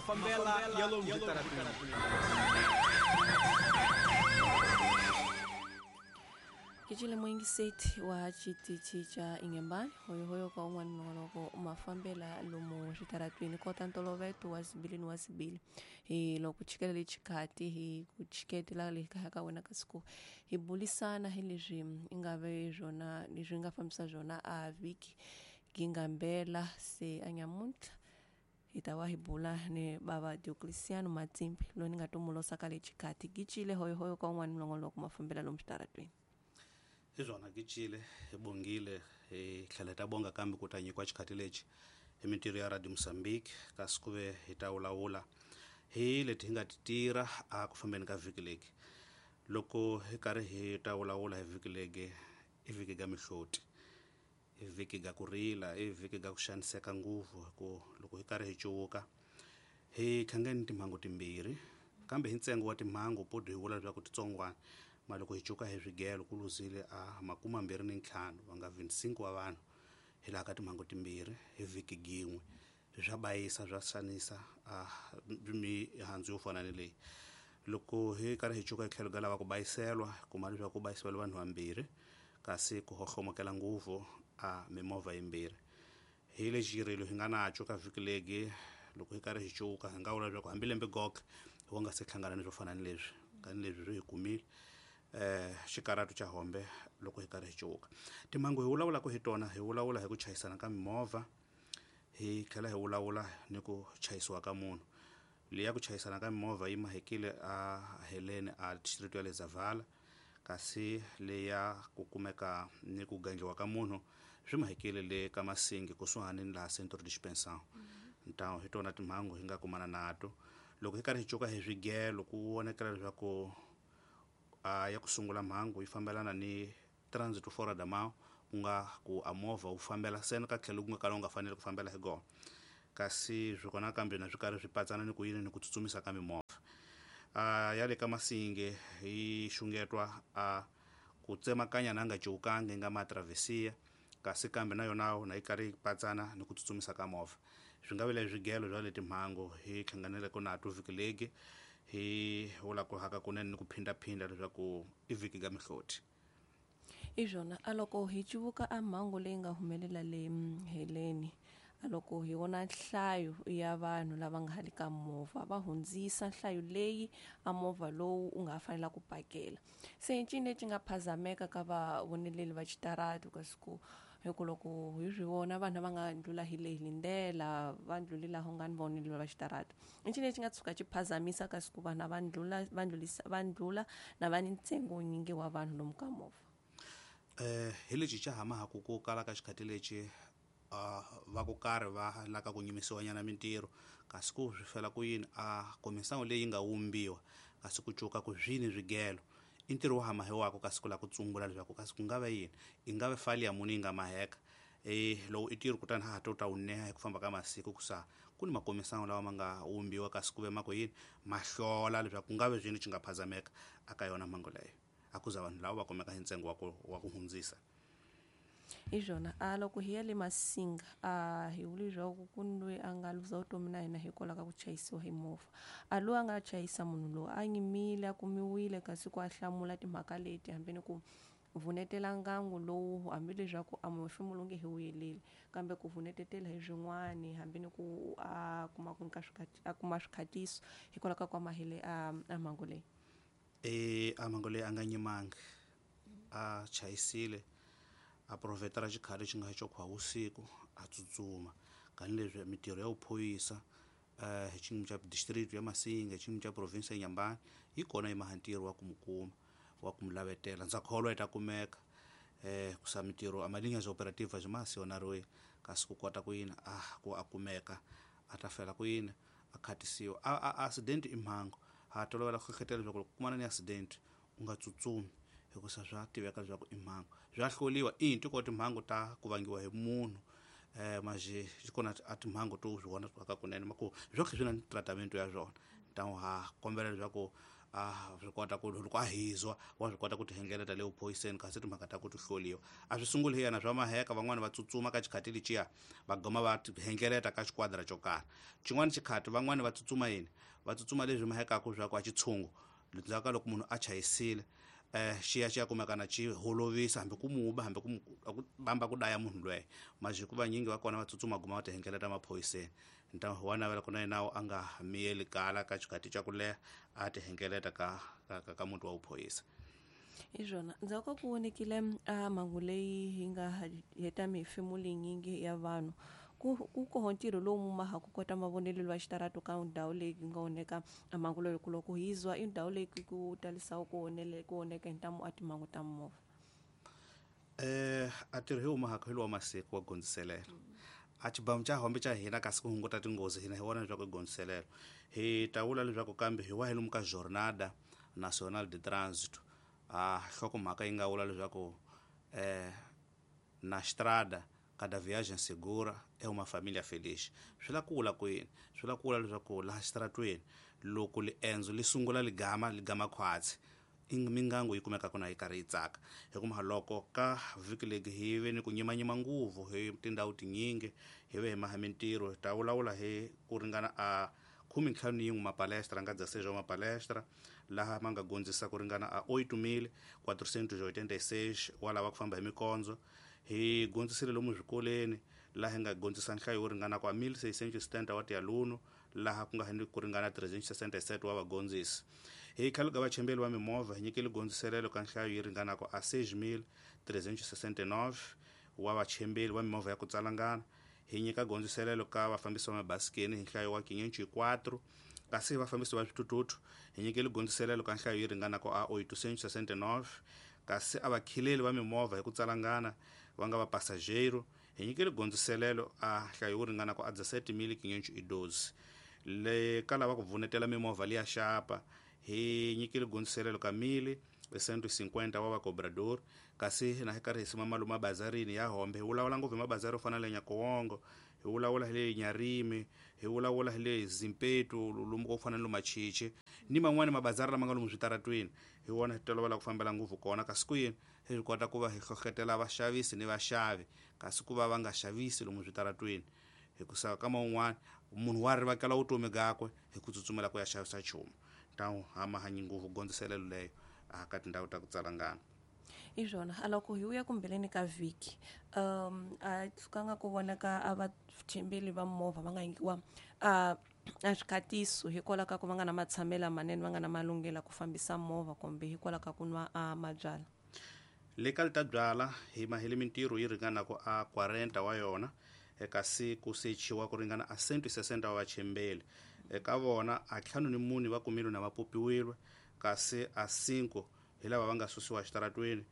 Mafambela ya lomu switarateni. Kicile muingiseti wa xitichi xa Inhambane hoyohoyo ka un'wana nongonoko mafambela lomu switaratwini kota ntoloveto wa sibili ni wa sibili hi loko chikele lexikati hi ku chiketela le kaya ka wena ka siku hi bulisana hi leswi i nga ve swona leswi nga fambisa swona a vhiki gingambela se a nyamuntlha hi ta va hi bula ni bava Diocleciano Matsimbi loyi ni nga to ka lexikati gicile hoyohoyo ka un'wana nongonoko mafambela lomu switaratwini. Hi swona gicile hi bongile hi tlhela hi ta bonga kambe ku ta nyikiwa xikhati lexi hi mintirho ya Radio Mozambique kasi ku ve hi ta vulavula hi leti hi nga ti tirha a ku fambeni ka vhiki leki. Loko hi karhi hi ta vulavula hi vhiki leki i vhiki ga mihloti, i vhiki ga ku rila, i vhiki ga ku xaniseka ngopfu hi ku loko hi karhi hi cuvuka hi hlangane timhangu timbirhi kambe hi ntsengo wa timhangu poto hi vula leswaku titsongwana ma loko hi cuka hi swigelo ku luzile a 25 va nga 25 wa vanhu hi laha ka timhangu timbirhi hi vhiki gin'we. Swa bayisa swa xanisa a mihandzu yo fana ni leyi. Loko hi karhi hi cuka hi tlhelo ka lava ku bayiselwa kuma leswaku ku bayisiwela vanhu vambirhi kasi ku hohlomokela ngopfu a mimovha yimbirhi. Hi lexi xirilo hi nga naco ka vhiki legi loko hi karhi hi cuka hi nga vula leswaku hambi lembe goke hi wa nga se hlangana ni swo fana ni leswi kani leswi swi hi kumile xikaratu xa hombe loko hi karhi hi cuka. Timhangu hi vulavulaka hi tona hi vulavula hi ku chayisana ka mimovha hi tlhela hi vulavula ni ku chayisiwa ka munhu. Leya ku chayisana ka mimovha yi mahekile a Helene a district ya le Zavala kasi leya ku kumeka ni ku gandliwa ka munhu swi mahekile le ka Masingi kusuhani ni laha Centro Dispensão. Ntawo hi tona timhangu hi nga kumana nato. Loko hi karhi hi cuka hi swigelo ku vonekela leswaku a ya ku sungula mhangu yi fambelana ni transit fora da mão ku nga ku a movha wu fambela seni ka tlhelo ku nga kala wu nga faneli ku fambela hi gona kasi swi kona kambe na swi karhi swi patsana ni ku yini ni ku tsutsumisa ka mimovha. A ya le ka Masingi hi xungetwa a ku tsemakanya na nga cukangi nga matravhesia kasi kambe na yona na yi karhi yi patsana ni ku tsutsumisa ka movha. Swi nga vile swigelo swa le timhangu hi hlanganeleke nato vhiki legi hi vula ku haka kunene ni ku phindaphinda leswaku i vhiki ga mihloti. Hi swona a loko hi cuvuka a mhangu leyi nga humelela le Heleni a loko hi vona nhlayo ya vanhu lava nga hali ka movha va hundzisa nhlayo leyi a movha lowu u nga fanela ku pakela se i ncini lexi nga phazameka ka vavoneleli va xitaratu kasi ku hi ku loko hi swi vona vanhu lava nga ndlula hi leyi lindela va ndluli laha u nga ni voneleli va xitaratu i ncini lexi nga tshuka xi phazamisa kasi ku vanhu va ndlula va ndlulisa va ndlula na va ni ntsengo nyingi wa vanhu lomu ka movha. Hi lexi xa hamahaku ku kala ka xikhati lexi va ku karhi va laka ku nyimisiwa nyana mintirho kasi ku swi fela ku yini a komisango leyi nga wumbiwa kasi ku cuka ku swini swigelo i ntirho wa hamahiwaka kasi ku lava ku tsumbula leswaku kasi ku nga va yini i nga ve fali ya munhu yi nga maheka lowu i ntirho kutani ha ha to ta wu neha hi ku famba ka masiku ku sa ku ni makomisango lawa ma nga wumbiwa kasi ku ve ma ku yini ma hlola leswaku ku nga ve swini xi nga phazameka aka yona mhangu leyo a ku za vanhu lava va kumeka hi ntsengo wa ku hundzisa. Hi swona a loko hi ya le Masinga a hi vuli leswaku ku ni loyi a nga luza vutomi na hina hikwalaho ka ku chayisiwa hi movha a loyi a nga chayisa munhu loyi a nyimile a kumiwile kasi ku a hlamula timhaka leti hambi ni ku vunetela ngangu lowu hambi leswaku a mufumo lowu nge he vuyeleli kambe ku vunetetela hi swin'wani hambi ni ku a kuma ku nyika a kuma swikhatiso hikwalaho ka ku amahele a mhangu leyi. A mhangu leyi a nga nyimangi a chayisile a provhetela xikhale xi nga xo khwa vusiku a tsutsuma kani leswi mintirho ya vuphoyisa hi xiyimo xa district ya Masinga hi xiyimo xa province ya Inhambane yi kona yi maha ntirho wa ku mu kuma wa ku mu lavetela ndza kholwa yi ta kumeka ku sa mintirho a malinha za operativa byi ma sionariwe kasi ku kota ku yini a ku a kumeka a ta fela ku yini a khatisiwa a accident i mhangu ha tolovela ku hlehlotela leswaku loko kumana ni accident u nga tsutsumi hikusa swa tiveka leswaku i mhangu swa hloliwa i tiko timhangu ta ku vangiwa hi munhu maje kona a timhangu to swi vona ka kunene ma ku swo swi na tratament ya swona ntawo ha kombela leswaku A swi kota ku loko a hizwa wa swi kota ku ti hengeleta le vuphoyiseni, kasi timhaka ta ku ti hloliwa a swi sunguli hi yena swa maheka. Van'wani va tsutsuma ka xikhati lexiya, va goma va ti hengeleta ka xiquadra xo karhi. Xin'wana xikhati van'wani va tsutsuma yini, va tsutsuma leswi mahekaku swa ku a xitshungu ndzhaku ka loko munhu a chayisile, xiya xi ya kumeka na xi holovisa, hambi ku muba, hambi ku bamba ku daya munhu lweyo. Manje ku vanyingi va kona va tsutsuma, guma va ti hengeleta maphoyiseni. Nta wa navela ku na yena a nga miyeli kala ka xikhati xa ku leha, a ti hengeleta ka muti wa vuphoyisa. Hi swona, ndzhaku ka ku vonekile a mhangu leyi hi nga heta mihefemulo yinyingi ya vanhu, ku koho ntirho lowu mumaha ku kota mavonelo wa xitarato ka ndhawu leyi nga oneka a mhangu leyi, ku loko hi zwa i ndhawu leyi ku talisaku ku onele ku oneka hi ntamu a timhangu ta movha. A tirho hi humahaka hi lowa masiku wa gondziselela a xibamu xa hombe xa hina, kasi ku hunguta tinghozi hina hi vona leswaku i gondziselelo. Hi ta vula leswaku kambe hi wa hi lomu ka Jornada Nacional de Trânsito, a nhlokomhaka yi nga vula leswaku na estrada cada viagem segura é uma família feliz. Swi la ku vula ku yini? Swi la ku vula leswaku laha xitaratweni loko liendzo li sungula, ligama khwatsi, mingangu yi kumekaka na yi karhi yi tsaka. Hikuva loko ka vhiki legi hi ve ni ku nyimanyima nguvu hi tindhawu tinyingi, hi ve hi maha mintirho. Hi ta vulavula hi ku ringana a 51 mapalestra nga dzaseja wa mapalestra laha ma nga gondzisa ku ringana a 8486 wa lava ku famba hi mikondzo. Hi gondzisile lomu swikoleni, laha hi nga gondzisa nhlayo wo ringana kwa 1670 wa tialuno, laha ku nga ni ku ringana 367 wa vagondzisi. Hi khale ka vachembeli va mimovha, hi nyikile gondziselelo ka nhlayo yi ringanaka a 6369 wa vachembeli va mimovha ya ku tsalangana. Hi nyika gondziselelo ka vafambisi va mabasikeni hi nhlayo wa 504, kasi vafambisi va swithuthuthu hi nyikile gondziselelo ka nhlayo yi ringanaka a 869, kasi a vakhileli va mimovha hi ku tsalangana va nga vapasajero hi nyikile gondziselelo a nhlayo wo ringanaka a 17512. Le ka lava ku vunetela mimovha liya xapa, hi nyikile gondziselelo ka 1150 wa vacobrador. Kasi na hi karhi hi sima malume mabazarini ya hombe, hi vulavula ngopfu hi mabazari yo fana na le Nyakowongo, hi vulavula hi le Nyarimi, hi vulavula hi le Zimpetu, lomu ko fana na Lomachichi ni man'wani mabazari lama nga lomu switaratweni, hi wona hi tolovela ku fambela ngopfu kona. Kasi ku yini hi swi kota ku va hi hlohlotela vaxavisi ni vaxavi, kasi ku va va nga xavisi lomu switaratweni, hikusa ka man'wani munhu wa rivakela vutomi byakwe hi ku tsutsumela ku ya xavisa nchumu. Ntawu hamahanyi ngopfu gondziselelo leyo a ka tindhawu ta ku tsalangana. Hi swona, a loko hi vuya kumbeleni ka vhiki, a tsukanga ku vonaka a vachembeli va movha va nga nyikiwa a swikhatiso hikwalaho ka ku va nga na matshamelo lamanene, va nga na malunghelo ku fambisa movha, kumbe hikwalaho ka ku nwa a mabyalwa. Le ka lita byala hi mahele mintirho yi ringanaka a 40 wa yona, kasi ku sechiwa ku ringana a 160 wa vachembeli. Eka vona a 54 va kumile na va popiwile, kasi a 5 hi lava va nga susiwa xitaratweni,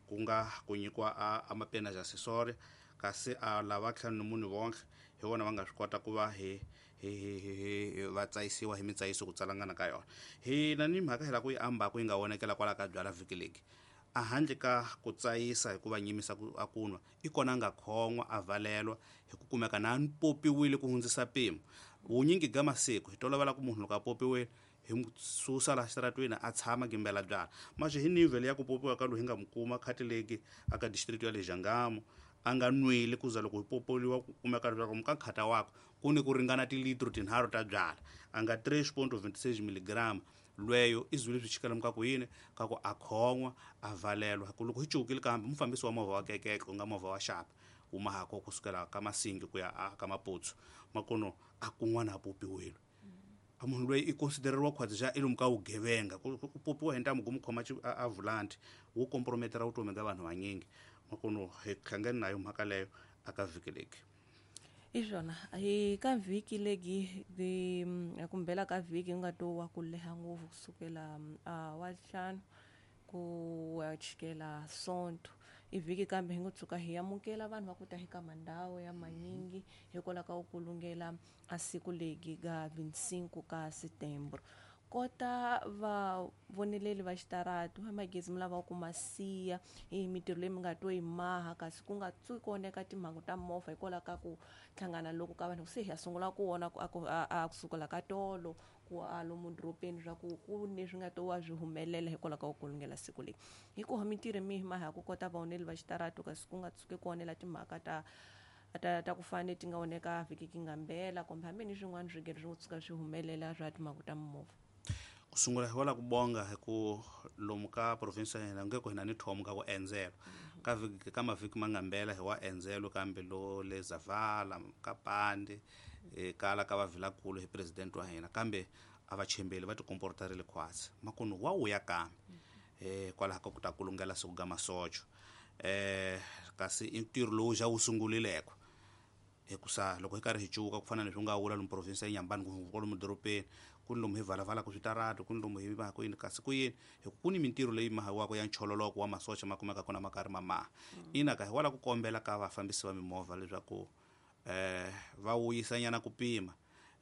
ku nga ku nyikiwa a mapena ya accessory, kasi a lava 54 vonke hi vona va nga swi kota ku va hi va tsayisiwa hi mitsayiso ku tsalangana ka yona. Hi na ni mhaka hi la ku yi ambaku yi nga vonekela kwala ka byala vhiki legi, a handle ka ku tsayisa hi ku va nyimisa ku a kunwa, i kona a nga khon'wa a valelwa hi ku kumeka na popiwile ku hundzisa mpimo. Vunyingi bya masiku hi tolovela ku munhu loko a popiwile hi mu susa laha xitaratweni a tshama gimbela byala. Manje hi nivel ya ku popiwa ka loyi hi nga mu kuma khatileki aka district ya le Jangamo, a nga nwile ku za loko hi popoliwa ku kumeka leswaku muka nkhata wakwe ku ni ku ringana tilitro 3 ta byala, a nga 3.26 milligram. Lweyo i zwile swi chikela muka ku yini ka ku a khon'wa a valelwa. Ku loko hi cukile kambe mufambisi wa movha wa kekeke, ku nga movha wa xapa, wu mahako kusukela ka Masingi ku ya ka Maputsu, makono a kun'wana a popiwile. A munhu loyi i considereriwa khwatsi xa i lomu ka vugevenga, ku popiwa hi ntamu ku mu khoma a vulanti wu comprometera vutomi bya vanhu vanyingi. Makono hi hlangani na yo mhaka leyo aka vhiki legi. Hi swona, hi ka vhiki legi kumbela ka vhiki nga to wa ku leha ngopfu kusukela wa ntlhanu ku ya chikela Sonto. I vhiki kambe hi ngo tshuka hi amukela vanhu va ku ta hi ka mandhawu ya manyingi hikwalaho ka ku kulungela a siku legi ga 25 ka Setembro. Kota vavoneleli va xitaratu va magezi mi lava ku ma siya hi mintirho leyi mi nga to yi maha, kasi ku nga tsuki ku oneka timhangu ta movha hikwalaho ka ku hlangana loku ka vanhu. Se hi ya sungula ku vona ku a kusukela ka tolo ku a lomu dorobeni swa ku ku ni swi nga to wa swi humelela hikwalaho ka ku kulungela siku leyi. Hikuva mintirho mihi maha ku kota vavoneli va xitaratu, kasi ku nga tshuki ku onela timhaka ta ku fana ti nga oneka vhiki ki nga mbela, kumbe hambi ni swin'wana swigelo swi tshuka swi humelela swa timhangu ta mimovha? Ku sungula hi wala ku bonga hi ku lomu ka province ya hina nge ku hina ni thomo ka ku endzela ka vhiki ka mavhiki ma nga mbela hi wa endzelo, kambe lo le Zavala ka Pande kala ka vavilakulu hi president wa hina, kambe a va chembeli va tikomportarile khwatsi makunu wa wuya kambe kwalaho ka ku ta kulungela siku ga masocho, kasi i ntirho lowu ja wu sungulileko hikusa loko hi karhi hi cuka ku fana ni swi nga vula lomu province ya Nyambani kwalomu dorobeni ku ni lomu hi valavalaka switaratu, ku ni lomu hi va ku yini, kasi ku yini hi ku ni mintirho leyi mahiwaka ya nchololoko wa masocha ma kumeka kona ma karhi ma maha. Ina ka hi wala ku kombela ka vafambisi va mimovha leswaku va wuyisa nyana ku pima,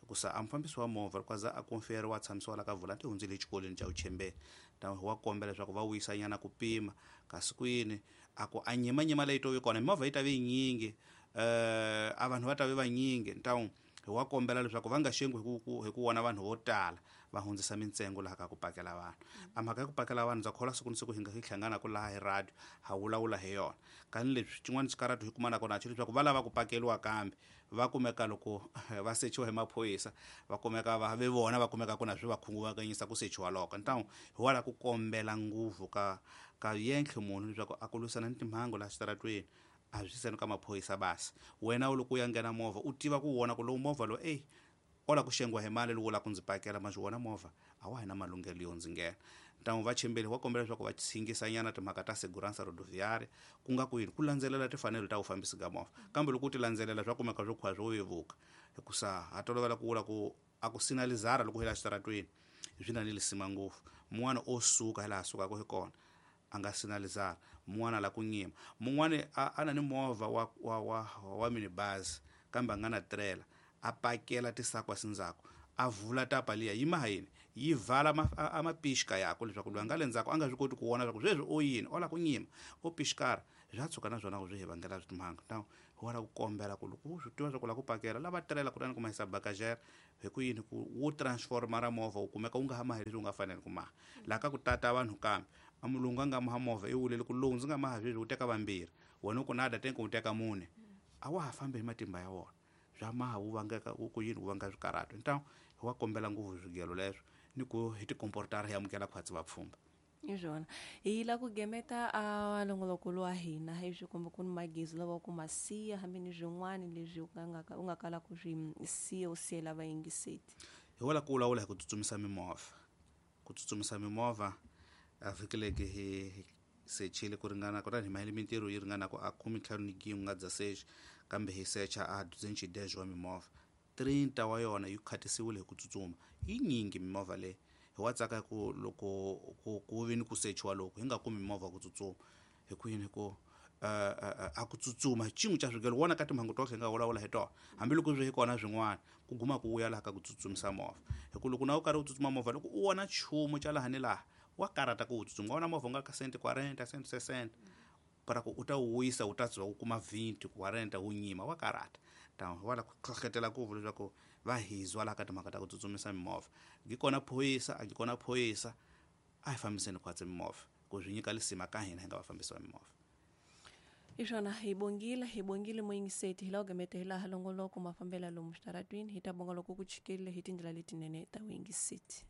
hikusa a mufambisi wa movha loko a za a konferiwa a tshamisiwa la ka volante hundzile exikolweni xa vuchembeni, ta wa kombela leswaku va wuyisa nyana ku pima, kasi ku yini a ku a nyimanyima leyi to vi kona mimovha yi ta vi yinyingi, a vanhu va ta vi vanyingi, ntawu hi wa kombela leswaku va nga xengi hi ku vona vanhu vo tala va hundzisa mintsengo laha ka ku pakela vanhu. A mhaka ya ku pakela vanhu ndza kholwa siku ni siku hi nga hi hlanganaka laha hi radio ha vulavula hi yona, kani leswi xin'wana xikaratu hi kumanaka na xo leswaku va lava ku pakeliwa kambe va kumeka loko va sechiwa hi maphorisa va kumeka va ve vona va kumeka ku na swi va khunguvanyisa ku sechiwa loko. Ntawu hi wala ku kombela nguvu ka yentlhe munhu leswaku a ku lwisana ni timhangu laha xitaratweni a swi seni ka maphorisa basi wena u loko u ya nghena movha u tiva ku vona ku lowu movha lowu ey ola ku xengiwa hi mali lowu la ku ndzi pakela ma swi vona movha a wa hi na malunghelo yo ndzi nghena. Ntamu va chembeli wa kombela leswaku va tshingisanyana timhaka ta segurança rodoviária, ku nga ku yini ku landzelela timfanelo ta vufambisi ga movha, kambe loko u ti landzelela swa kumeka swo khwa swo vevuka, hikusa ha tolovela ku vula ku a ku sinalizara loko hi la xitaratweni swi na ni lisima ngopfu. Mun'wana o suka hi laha sukaka hi kona a nga sinalizara, mun'wana la ku nyima, mun'wana a na ni movha wa minibus kambe a nga na trailer, a pakela tisakwa sindzhaku a vula tapa liya yi maha yini yi vala a mapixka yakwe leswaku loyi a nga le ndzhaku a nga swi koti ku vona leswaku sweswi o yini o la ku nyima o pixkara swa tshuka na swona ku swi hi vangela timhangu. Ntawu hi wala ku kombela ku loko u swi tiva swa ku la ku pakela lava trailer kutani ku mahisa bagagere hi ku yini ku wu transformara movha wu kumeka wu nga ha mahi leswi wu nga fanele ku maha laha ka ku tata vanhu, kambe a mulungu a nga maha movha i wulele ku lowu ndzi nga maha sweswi wu teka vambirhi wena u ku nada tenke wu teka mune a wa ha fambi hi matimba ya wona swa maha wu vangeka ku yini wu vanga swikarhato. Ntawu hi wa kombela ngopfu swigelo leswo ni ku hi tikomportara hi amukela khwatsi vapfhumba. Hi swona hi la ku gemeta a longoloko wa hina hi swi komba ku ni magezi lawa ku ma siya hambi ni swin'wana leswi u nga kala ku swi siya u siyela vayingiseti. Hi wala ku vulavula hi ku tsutsumisa mimovha, ku tsutsumisa mimovha a vhiki leki hi sechile ku ringana kutani hi mahele mintirho yi ringana ku a 15 nga dza sechi, kambe hi secha a 210 wa mimovha 30 wa yona yi khatisiwile hi ku tsutsuma yi nyingi mimovha leyi. Hi wa tsaka ku loko ku vi ni ku sechiwa loko hi nga kumi mimovha ku tsutsuma hi ku yini ku a ku tsutsuma xin'we xa swigelo wona ka timhangu tohle hi nga vulavula hi tona hambiloko swi hi kona swin'wana ku guma ku vuya laha ka ku tsutsumisa movha, hi ku loko na u karhi u tsutsuma movha loko u vona nchumu xa laha ni laha wa karata ku wu tsutsuma, wa vona movha u nga ka 140 160 para ku u ta wu wisa u ta tswa u kuma 20 40 wu nyima wa karata. Ta wala ku hlohletela ku vula leswaku va hizwa laha ka timhaka ta ku tsutsumisa mimovha ngi kona phorisa a ngi kona phorisa a hi fambiseni khwatsi mimovha ku swi nyika lisima ka hina hi nga vafambisi va mimovha. Hi swona hi bongile muyingiseti hi laha ku gemete hi laha longoloko mafambela lomu switaratwini hi ta bonga loko ku chikerile hi tindlela letinene ta vuyingiseti.